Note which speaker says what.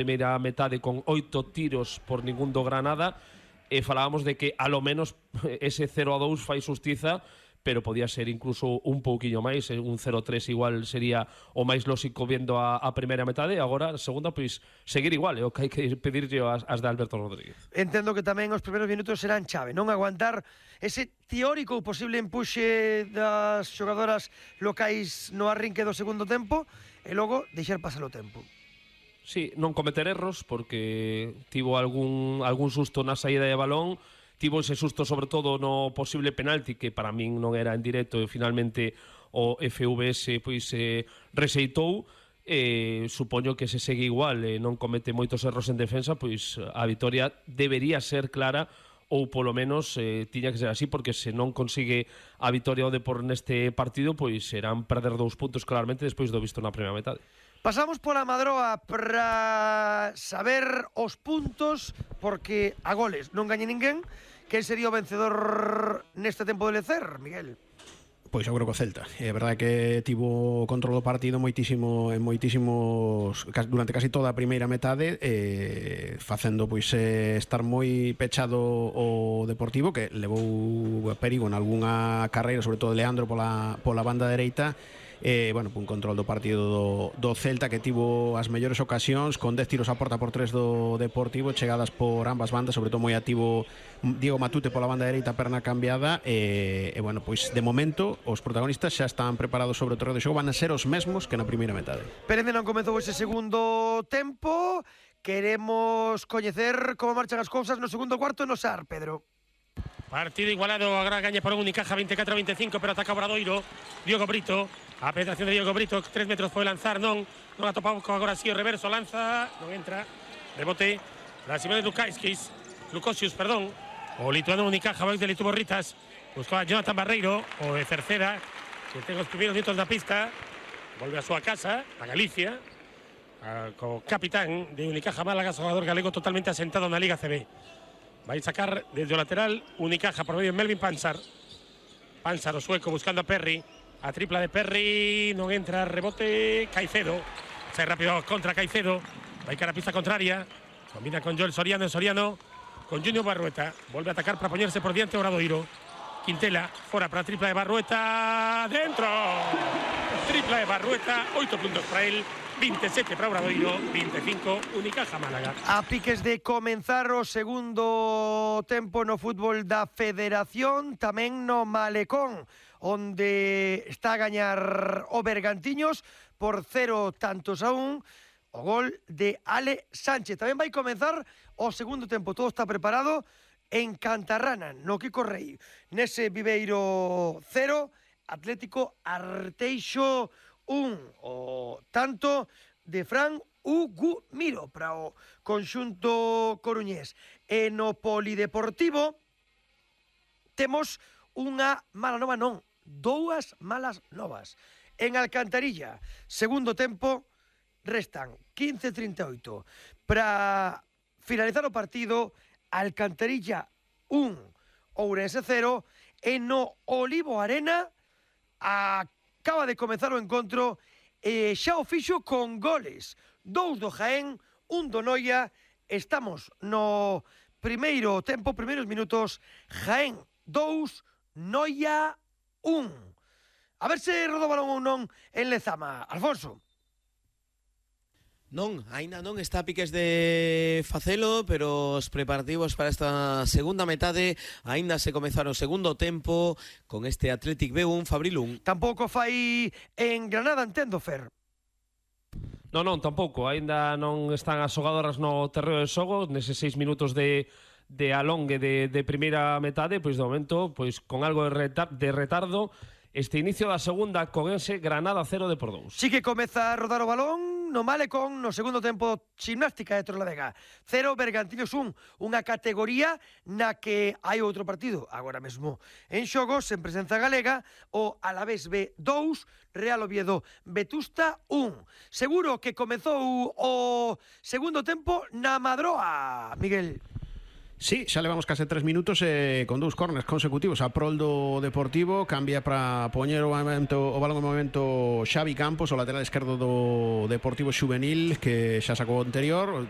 Speaker 1: primeira metade con 8 tiros por ningún do Granada, e falábamos de que a lo menos ese 0-2 fai xustiza, pero podía ser incluso un pouquiño máis, un 0-3 igual sería o máis lóxico vendo a primeira metade. Agora, a segunda, pois seguir igual, é o que hai que pedirlle as de Alberto Rodríguez.
Speaker 2: Entendo que tamén os primeiros minutos serán chave, non aguantar ese teórico ou posible empuxe das xogadoras locais no arrinque do segundo tempo e logo deixar pasar o tempo.
Speaker 1: Sí, non cometer erros, porque tivo algún susto na saída de balón, tivo ese susto sobre todo no posible penalti, que para min non era en directo, e finalmente o FVS pois rexeitou. Supoño que se segue igual e non comete moitos erros en defensa, pois a vitoria debería ser clara, ou polo menos tiña que ser así, porque se non consigue a vitoria o Depor neste partido, pois serán perder 2 puntos claramente despois do visto na primeira metade.
Speaker 2: Pasamos pola Madroa para saber os puntos, porque a goles non gañe ninguén. Quen sería o vencedor neste tempo de lecer, Miguel?
Speaker 3: Pois eu creo que o Celta. É verdade que tivo control do partido moitísimos durante casi toda a primeira metade, facendo pois estar moi pechado o Deportivo, que levou perigo en algunha carreira, sobre todo Leandro pola banda dereita. Bueno, un control do partido do Celta, que tivo as mellores ocasións, con 10 tiros a porta por 3 do Deportivo, chegadas por ambas bandas, sobre todo moi activo Diego Matute pola banda dereita, perna cambiada. Bueno, pois de momento os protagonistas xa están preparados sobre o terreo de xogo, van a ser os mesmos que na primeira metade.
Speaker 2: Pero ainda non comezou ese segundo tempo. Queremos coñecer como marchan as cousas no segundo cuarto no SAR, Pedro.
Speaker 4: Partido igualado, agora gaña por un Unicaja 24-25, pero ataca Obradoiro. Diogo Brito, a penetración de Diogo Brito, 3 metros pode lanzar, non a topamos agora si o reverso, lanza, non entra, rebote, la Simone Lukosius, o lituano Unicaja, vais de Lituborritas, buscou a Jonathan Barreiro, o de Cerceda, que ten os primeiros minutos da pista, volve a súa casa, a Galicia, co capitán de Unicaja Málaga, xogador galego totalmente asentado na Liga CB. Vai sacar desde o lateral Unicaja por medio de Melvin Pansar, o sueco buscando a Perry, a tripla de Perry, non entra, rebote, Caicedo, sai rápido contra Caicedo, vai cara a pista contraria, combina con Joel Soriano, con Junior Barrueta, volve a atacar para poñerse por diante Obradoiro, Quintela, fora para a tripla de Barrueta, dentro, tripla de Barrueta, 8 puntos para él, 27 para Obradoiro, 25 Unicaja Málaga.
Speaker 2: A piques de comenzar o segundo tempo no fútbol da Federación, tamén no Malecón, onde está a gañar o Bergantiños por 0-1, o gol de Ale Sánchez. Tamén vai comenzar o segundo tempo, todo está preparado en Cantarrana, no Kiko Rei. Nese Viveiro 0, Atlético Arteixo 1, o tanto de Fran Ugumiro para o conxunto coruñés. E no Polideportivo temos unha mala nova, non, 2 malas novas. En Alcantarilla, segundo tempo, restan 15:38 para finalizar o partido. Alcantarilla 1, Ourense 0, e no Olivo Arena acaba de comezar o encontro e xa o fixo con goles, 2 do Jaén, 1 do Noia. Estamos no primeiro tempo, primeiros minutos, Jaén 2, Noia 1. A ver se rodou balón ou non en Lezama, Alfonso.
Speaker 5: Non, aínda non está a piques de facelo, pero os preparativos para esta segunda metade aínda se comezaron o segundo tempo con este Athletic B1 Fabril 1.
Speaker 2: Tampouco fai en Granada, entendo, Fer.
Speaker 1: Non, tampouco, aínda non están as xogadoras no terreo de xogo neses 6 minutos de alongue de primeira metade, pois de momento, pois con algo de retardo, este inicio da segunda con ese Granada 0 Depor 2.
Speaker 2: Sí que comeza a rodar o balón no Malecón no segundo tempo. Gimnástica de Torrelavega 0, Bergantiños 1, unha categoría na que hai outro partido agora mesmo en xogos en presenza galega, o Alavés B 2, Real Oviedo Vetusta 1. Seguro que comezou o segundo tempo na Madroa, Miguel.
Speaker 3: Sí, xa levamos case 3 minutos con 2 corners consecutivos a prol do Deportivo. Cambia para poñer o balón en movimento Xavi Campos, o lateral esquerdo do Deportivo Xuvenil, que xa sacou o anterior.